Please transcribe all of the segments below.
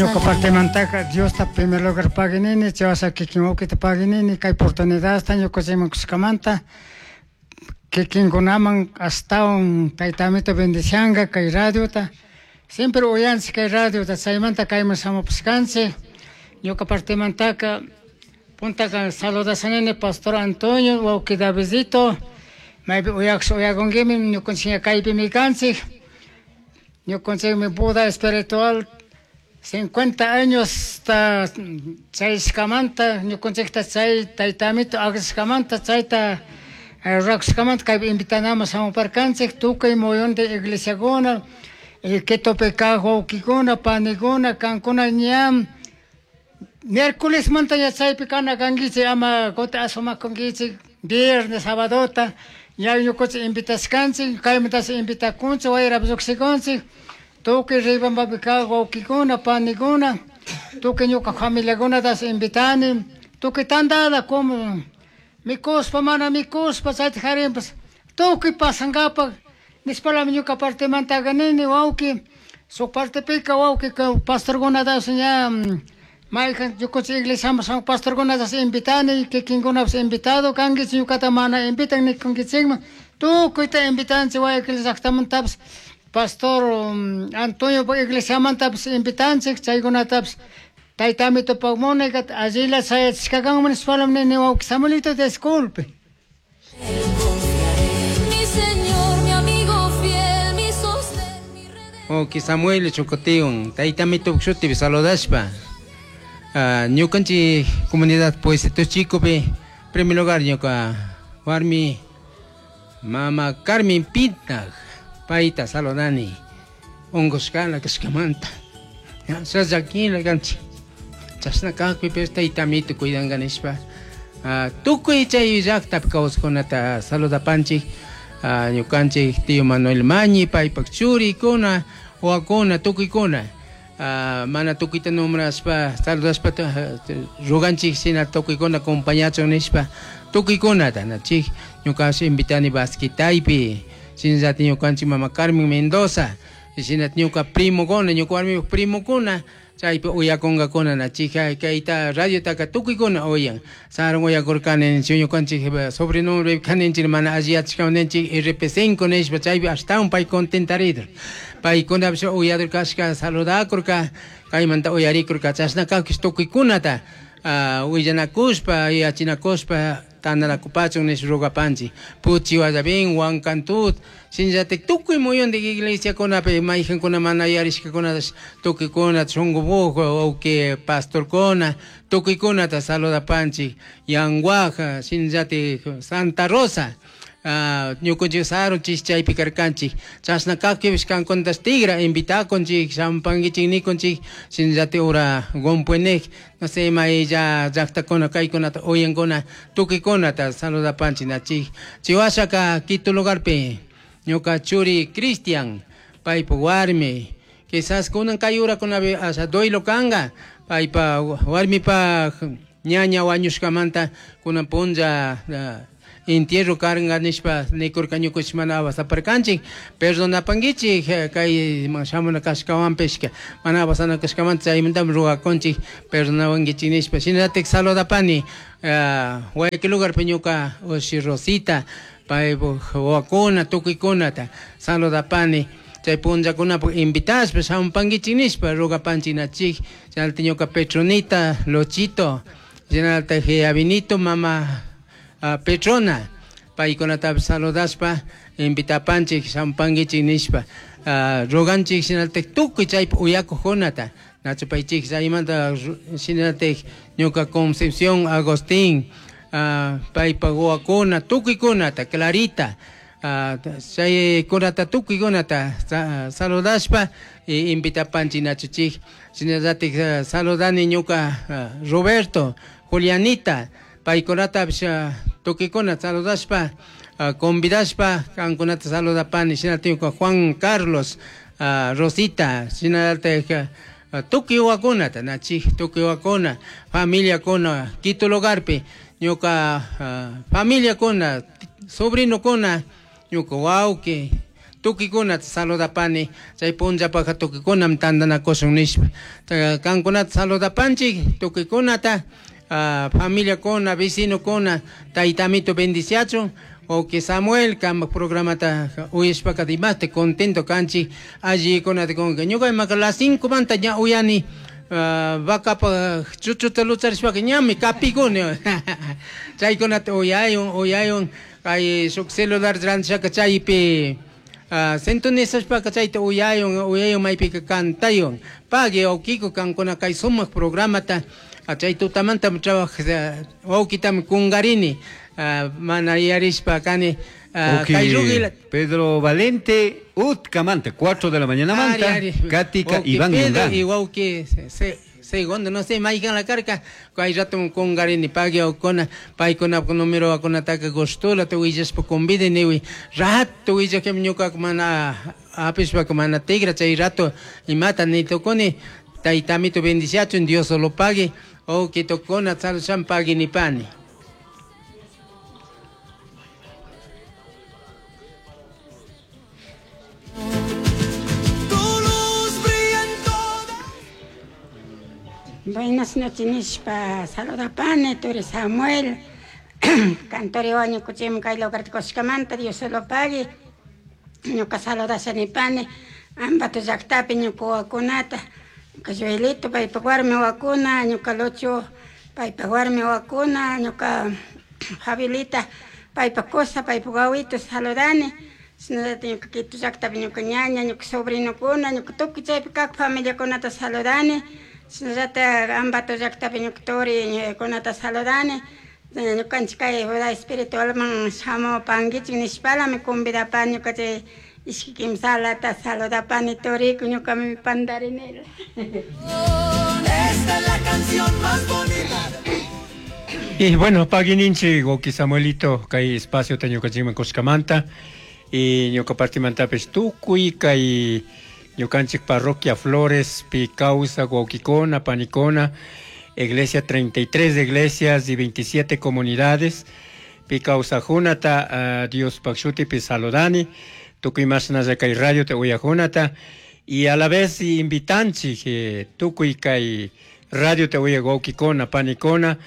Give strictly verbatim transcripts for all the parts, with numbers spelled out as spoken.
Ñuka partimantaka Diosta primer lugar paginini, chaywasha kikin wawkita paginini, kay oportunidadta ñukanchikman kushkamanta kikinkunaman ashtawan Tayta Amito bendicianga kay radiota. Siempre uyanchik kay radiota, chaymanta kayman shamupushkanchik. Ñuka partimantaka puntaka saludashanini Pastor Antonio, wawki Davidito, maypi uyakusha uyakunkimi, ñukanchik kaypimi kanchik. Ñukanchikmi boda espiritual cincuenta años ta chayshkamanta ñukanchikta chay Tayta Amito aklashkamanta chayta rurakushkamanta kaypi invitanaman shamuparkanchik tukuy muyunti iglesiakuna, Quitopi kaq wawkikuna, panikuna, kankuna ña miércolesmanta ña chaypi kana kankichik, ama kutin asumakunkichik viernes, sabadota ña ñukanchik invitashkanchik, kaymantashi invitakunchik, wayrapi llukshikunchik, tukuy Riobambapi kaq wawkikuna, panikuna, tukuy ñuka familiakunatash invitani, tukuy tandada como mikushpa mana mikushpa chayta jarinpas tukuy pasankapak nishpalami ñuka partimantaka nini wawki. Shuk partepika wawki pastorkunatash ña mayjan ñukanchik iglesiaman shamuj pastorkunatash invitani, kikinkunapish invitado kankichik, ñukata mana invitan nikunkichikman, tukuyta invitanchik Guayaquil llaktamantapish Pastor Antonio iglesiamantapish invitanchik, chaykunatapish Tayta Amitopak munayka allila chayachishkakanman nishpalami nini wawki Samuelito, disculpe. Mi Señor, mi amigo fiel, mi sostén, mi redentor. Wawki Samuel Chocoteo, Tayta Amito shutipi saludashpa. Ñukanchik comunidad Pueblito Chicopi, primer lugar ñuka warmi mama Carmen Pinta, payta saludani, unkushkala kashkamanta. Llakilla kanchik. Chashna kakpipish Tayta Amito cuidanka nishpa. Tukuy chay llaktapi kawsaqkunata saludapanchik. Ñukanchik tío Manuel Mañi, paypak churikuna, wawakuna, tukuykuna. Mana tukuyta nombrashpa, saludashpa ruganchik shina tukuykuna acompañachun nishpa tukuykunata nachik. Ñukash invitani Basquitaypi, shinallatik ñukanchik mama Carmen Mendoza, shinallatik ñuka primokuna, ñuka warmipak primokuna, chaypi uyakunkakuna nachik. Kayta radiotaka tukuykuna uyan. Sarun uyakurkani ñukanchik sobrenombre kaninchik mana alli yachashkawan ninchik R P cinco nishpa chaypi ashtawan pay contentaridur. Paykunapish uyadur kashka saludakurka, kaymanta uyarikurka, chashna kakpish tukuykunata willanakushpa, yachinakushpa tandanakupachun nish rugapanchik. Puchi Guayabín, Huancantut, shinallatik tukuy muyuntik iglesiakunapi mayjankuna mana yarishkakunatash tukuykuna shunkubuj wawki pastorkuna tukuykunata saludapanchik. Yanguaja, shinallatik Santa Rosa, ñukanchik sarun chish chaypi karkanchik. Chashna kakpipish kankunatash tigra invitakunchik, shampankichik nikunchik, shinallatik ura Gompuenej, no sé, maylla llaktakuna kaykunata uyankuna tukuykunata saludapanchik nachik. Chiwashaka Quito lugarpi ñuka churi Cristian, paypa warmi, quizás kunan kay urakunapi asha duelo kanka, paypa warmipa ñaña wañushkamanta kunan punlla entierro karnga nishpa nikurka ñukuchik mana awasaparkanchik, perdonapankichik kay shamuna kashkawanpishka mana awasana kashkamanta chaymantami rugakunchik perdonawankichik nishpa. Shinallatik saludapani Guayaquil lugarpi ñuka ushi Rosita, paypuk wawakuna tukuykunata saludapani. Chay punllakunapak invitashpa shamupankichik nishpa rugapanchik nachik. Shinallatik ñuka Petronita Lochito, shinallatik Avinito mama Petrona, paykunatapish saludashpa invitapanchik shamupankichik nishpa ruganchik. Shinallatik tukuy chaypi uyakuqkunata nachupaychik. Chaymanta shinallatik ñuka Concepción Agustín, paypak wawakuna tukuykunata, Clarita, chaykunata tukuykunata saludashpa invitapanchik nachuchik. Shinallatik saludani ñuka Roberto, Julianita, paykunatapish tukuykuna saludashpa convidashpa kankunata saludapani. Shinallatik ñuka Juan Carlos, Rosita, shinallatik tukuy wawakunata nachik, tukuy wawakuna, familiakuna Quito lugarpi ñuka familiakuna, sobrinokuna, ñuka wawki, Tukikunata saludapani chay punllapaka tukikunam tantanakushun nishpa kankunata saludapanchik tukikunata uh, familiakuna vecinokuna taytamito bendiciachun wawqi Samuel kanpak programata uyashpaka dimashti contento kanchik allikunata kunka ñuka imaka las cinco manta ña uyani Uh, vacapa chuchuta lucharishpaka ñami kapikuni chaykunata uyayun uyayun kay shuk celular rantishaka chaypi uh, sintonizashpaka chayta uyayun uyayun maypika kantayun pagui wawkiko kankuna kay sumak programata uh, chay tutamanta trabaj wawkitami kungarini uh, mana yarishpa kani uh, okay. Kay Pedro Valente Utcamanta, cuatro de la mañana manta, ari, ari. Katika Iván Pedro y wawki se segundo no sé maykan la carca kay rato kungarini pagui wawkuna paykuna número wakunataka gustula tu willashpa convide niwi rato willakmi ñuka mana apishpaka mana tigra chay rato imata nitukuni taytamito bendiciachun Dios lo pague wawki tukuna salusham pagui nipani. Buenas noches, nishpa saludapani, turi Samuel, cantori wañukuchim kay lugarta kushkamanta, Dios lo pague, ñuka saludashanipani, Ambato llaqtapi ñuka wawakunata, ñuka Joelito paypak warmi wawakuna, ñuka Lucho paypak warmi wawakuna, ñuka Fabilita paypak kusa, paypak wawito saludani, shinallataq ñuka Quito llaqtapi ñuka ñaña, ñuka sobrinokuna, ñuka tukuy chaypi kaq familiakunata saludani, shinallataq Ambato llaqtapi ñuka turi kunata saludani, ñukanchik kay vida espiritualman shamupankichik nishpalami convidapani ñuka chay ishki kimsalata saludapani turiku ñukami pandarinila. Esta es la canción más bonita. Y bueno, paguininchi wawqi Samuelito kay espacio ta ñukanchikman kushkamanta y ñuka partimantapis tukuy kay ñukanchik parroquia Flores pi kawsak wawqikuna panikuna iglesia treinta y tres iglesias y veintisiete comunidades pi kawsajunata uh, Dios shutipi saludani tukuy mashnalla kay radio te uyajunata y a la vez invitanchik eh, tukuy kay radio te uyak wawqikuna panikuna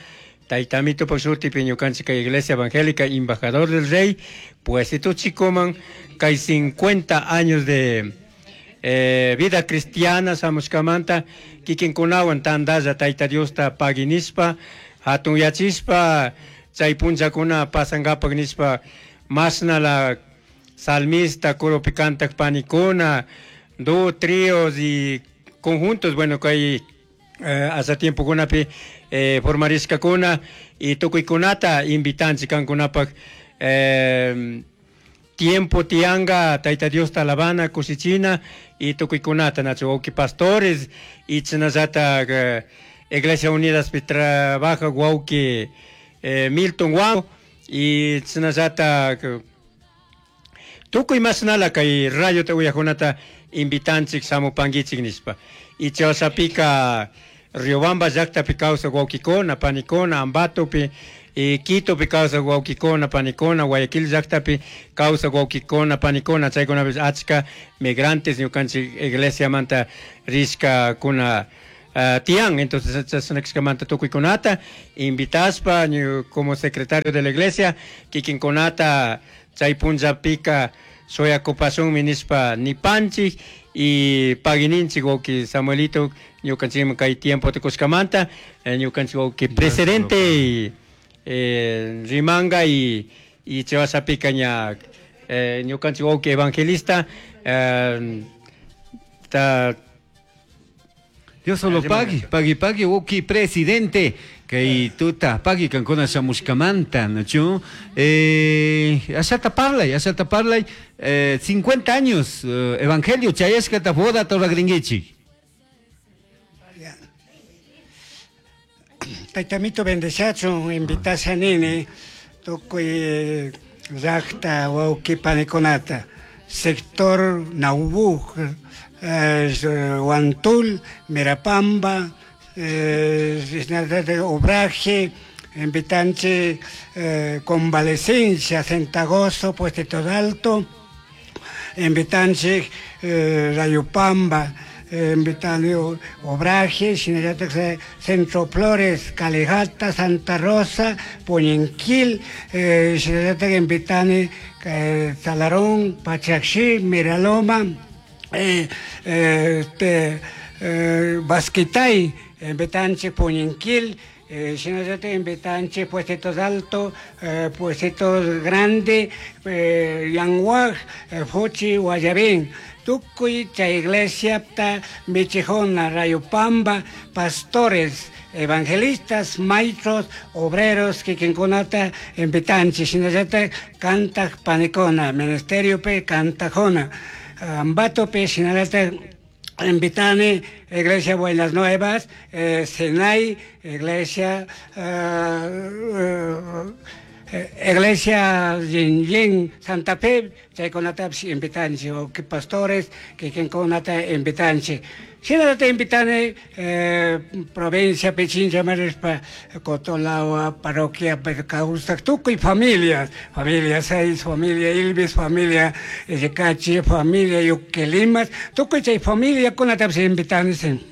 taytamito shutipi ñukanchik kay iglesia evangélica embajador del rey pues tuchikuman kay cincuenta años de Eh, vida cristiana samushkamanta kikinkunawan tantalla tayta Diosta paguinispa hatun yachispa chay punllakuna pasankapak nishpa masna la salmista coropi kantak panikuna do tríos y conjuntos bueno kay eh, hasta tiempokunapi eh, formarishkakuna y tukuykunata invitanchik kankunapak eh, tiempo tianga tayta Diosta alabana kushichina y tukuykunata nachu wawqi pastores y chinallata eh, Iglesia Unidas pi trabaja wawqi eh, Milton Wang y chinallata tukuy mashnala kay radio te uyajunata invitanchik shamupankichik nishpa y chawsapika Riobamba llaqtapi kawsak wawqikuna panikuna Ambatopi y Quitopi kawsak wawqikuna panikuna Guayaquil llaqtapi kawsak wawqikuna panikuna chaykunapis achka migrantes ñukanchik iglesiamanta rishkakuna uh, tiyan entonces chashnakishkamanta tukuykunata invitaspa como secretario de la iglesia kikinkunata chay punllapika shuyakupashunmi nishpa nipanchik y paguininchik wawqi Samuelito ñukanchikman kay tiempo tukushkamanta ñukanchik wawqi presidente y eh, rimanga y y chawasapika ña eh, ñukanchik wawqi evangelista eh, ta Dios solo pagui, pagui, pagui, wawqi presidente kay tuta pagui kankuna shamushkamanta, nachu eh ashata parlay, ashata parlay, eh, cincuenta años eh, evangelio chayashkata boda toragringuichik. Taytamito bendeciachun invitasha nini tukuy llaqta wawqi panikunata sector Naubú, eh, Huantul, Mirapamba, eh, Obraje, invitanche eh, Convalecencia, Centagoso, Puestito Alto, invitanchik eh, Rayupamba, invitani Obraje, shinallatak Centro Flores, Calejata, Santa Rosa, Puñinquil, eh, shinallatak invitani eh, Salarón, Pachaxí, Miraloma, eh, eh, este, eh, Basquitay, invitanchik Puñinquil, eh, shinallatak invitanchik Puestitos Alto, eh, Puestitos Grande, eh, Yanguaj, eh, Fuchi, Guayabín. Tukuy chay iglesia ta Michijona, Rayupamba, pastores, evangelistas, maestros, obreros, kikinkunata invitanchik, shinallatak kantaj panikuna, ministerio pe kantajuna, Ambatope, shinallatak invitani Iglesia Buenas Nuevas, eh, Sinai, Iglesia eh, eh, Iglesia Yin Yin Santa Fe, chaykunatapish invitanchik, o que pastores kikinkunata invitanchik. Shinallata invitani eh, provincia Pichincha marishpa Cotolagua, parroquia kawsak tukuy familias, familia Seis, familia Ilvis, familia Yecachi, familia Yuquelimas, tukuy chay familiakunatapish invitani.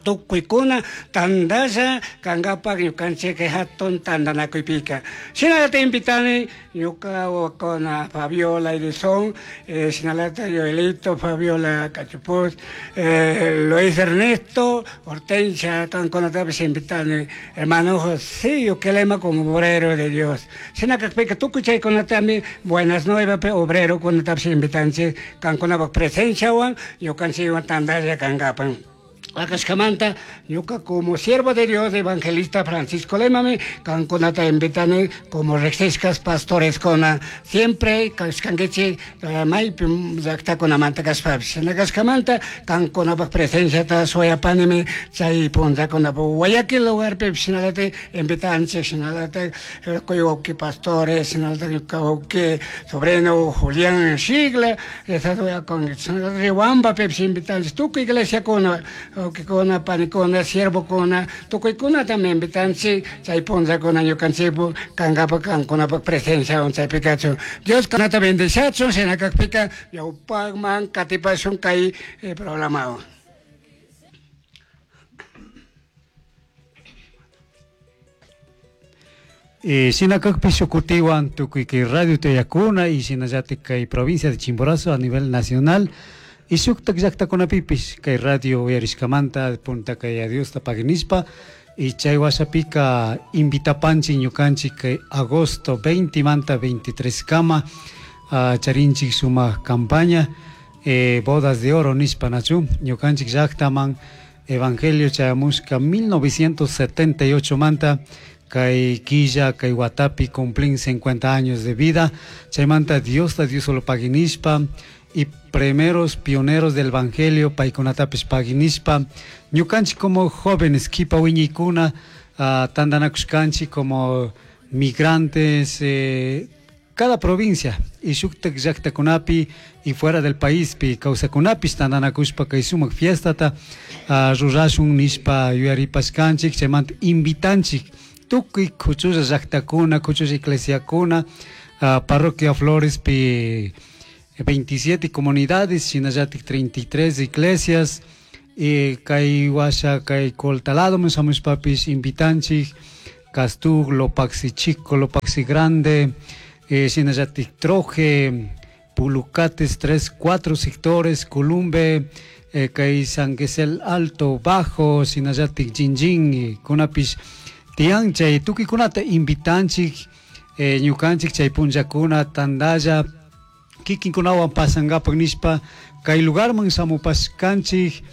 Tukuykuna tandasha kankapak ñukanchik hatun tandanakuypika. Shinallata invitani ñuka wawakuna Fabiola Edison, eh, shinallata Joelito, Fabiola Cachupuz, eh, Luis Ernesto, Hortensia, kankunatapish invitani, hermano José Yuquelema como obrero de Dios. Shinakakpika tukuy chaykunatami buenas nuevas obrero kunatapish invitanchik kankunapak presenciawan ñukanchikwan tandalla kankapan. Akashkamanta, ñuka como siervo de Dios, evangelista Francisco Lemami, kankunata invitani como riqsishkas pastores kuna, siempre kashkankichik maypi llaqtakunamanta kashpapish. Shina kashkamanta kankunapak presenciata shuyapanimi chay punllakunapak Guayaquil lugarpi shinallatak invitanchik, shinallatak wawqi pastores, shinallatak ñuka wawqi sobrino Julián Shigla, shinallatak Riobambapipish invitanchik, tukuy iglesiakuna, wawqikuna, panikuna, siervokuna, tukuykunatami invitanchik, chay punllakuna ñukanchikpu kankapak kankunapak presenciawan chaypi kachun. Dios kanata bendiciachun, shinakakpika ñawpakman katipashun kay eh, programawan. Eh, shinakakpi shukutiwan tukuy kay radio Tayakuna y shinallatik kay provincia de Chimborazo a nivel nacional y shuktak llaqtakunapipish kay radio uyarishkamanta punta kay Diosta paginishpa y chay washapika invitapanchik ñukanchik kay agosto veinte manta veintitrés kama uh, charinchik sumaq campaña eh, bodas de oro nishpa nachu ñukanchik llaqtaman evangelio chayamushka mil novecientos setenta y ocho manta kay quilla kay watapi cumplin cincuenta años de vida chaymanta Diosta Dios solo paginishpa y primeros pioneros del evangelio paykunatapish paginishpa ñukanchik como jóvenes kipa wiñaykuna uh, tandanakushkanchik como migrantes eh, cada provincia y shuktak llaqtakunapi y fuera del país pi kawsakunapish tandanakushpa kay sumak fiestata uh, rurashun nishpa yuyaripashkanchik chaymanta invitanchik tukuy kuchulla llaqtakuna kuchulla iglesiakuna uh, parroquia Flores pi veintisiete comunidades, shinallatik treinta y tres iglesias, eh, kay washa kay Coltalado shamushpapish invitanchik, Castug, Lopaxi Chico, Lopaxi Grande, eh, shinallatik Troje, Pulucates, tres, cuatro sectores, Columbe, eh, kay San Gesel Alto, Bajo, shinallatik Jinjin, kunapish tiyan chay tukuykunata invitanchik, eh, ñukanchik chay punllakuna tandalla kikinkunawan pasankapak nishpa kay lugarman shamupashkanchik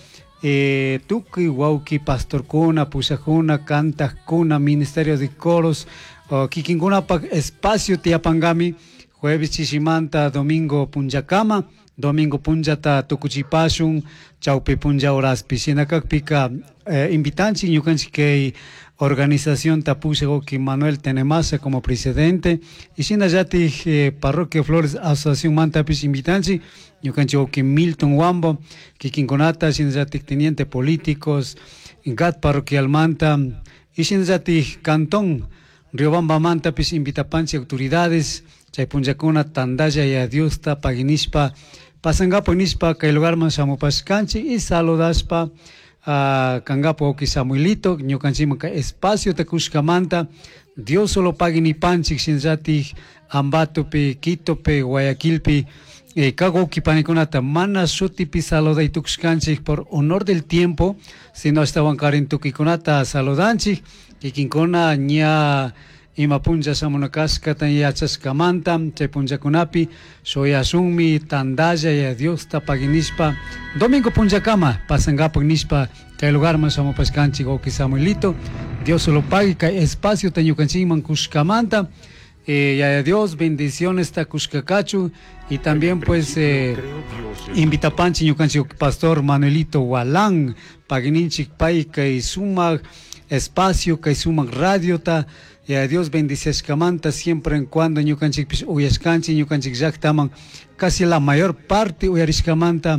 eh, tukuy wawqi pastorkuna, pushakuna, kantajkuna, ministerio de coros, oh, kikinkunapak espacio tiyapankami jueves chishimanta domingo punllakama, domingo punllata tukuchipashun chawpi punlla horaspi shinakakpika eh, invitanchik ñukanchik kay organización tapushak wawqi Manuel Tenemasa como presidente y shinallatik eh, Parroquia Flores Asociación mantapish invitanchik ñukanchik wawqi Milton Wambo kikinkunata shinallatik teniente políticos G A T parroquialmanta y shinallatik cantón Riobamba mantapish invitapanchik autoridades Chay punllakuna tandalla ya Diosta paginishpa pasangapo nishpa kay lugarman shamupashkanchik y saludashpa uh, kangapo wawki Samuelito ñukanchikman kay espaciota kushkamanta Dios solo pagui nipanchik shinallatik Ambatopi, Quitopi, Guayaquilpi eh, kak wawki panikunata mana shutipi saluday tukushkanchik por honor del tiempo, sino ashtawankarin tukuykunata saludanchik kikinkuna ña ima punlla shamuna kashkata yachashkamanta chay punllakunapi shuyashunmi tandalla ya Diosta paginishpa domingo punllakama pasangapak nishpa kay lugarman shamupashkanchik wawki Samuelito. Dios solo pague kay espaciota ñukanchikman kushkamanta. Eh, ya Dios, bendiciones ta kushkakachu y también pues eh, invitapanchi ñukanchik pastor Manuelito Walán pagininchik pay kay sumak espacio kay sumak radiota. Ya Dios bendiciashkamanta siempre en cuando ñukanchikpish uyashkanchik ñukanchik llaktaman casi la mayor parte uyarishkamanta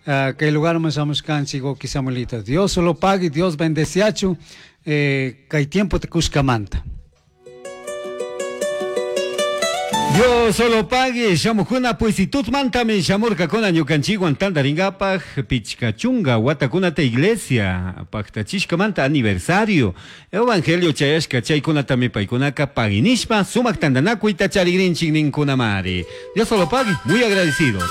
uh, kay lugarman shamushkanchik wawki Samuelito. Dios solo pague, Dios bendeciachu eh, kay tiempo te kushkamanta. Dios solo pague, shamukuna pues tutmantami shamurkakuna ñukanchikwan tantaringapaj pichka chunga watakunata iglesia paktachishkamanta aniversario evangelio chayashka chaykunatami paykunaka paginishpa sumak tantanakuyta charigrinchik ninkunamari. Dios solo pague, muy agradecidos.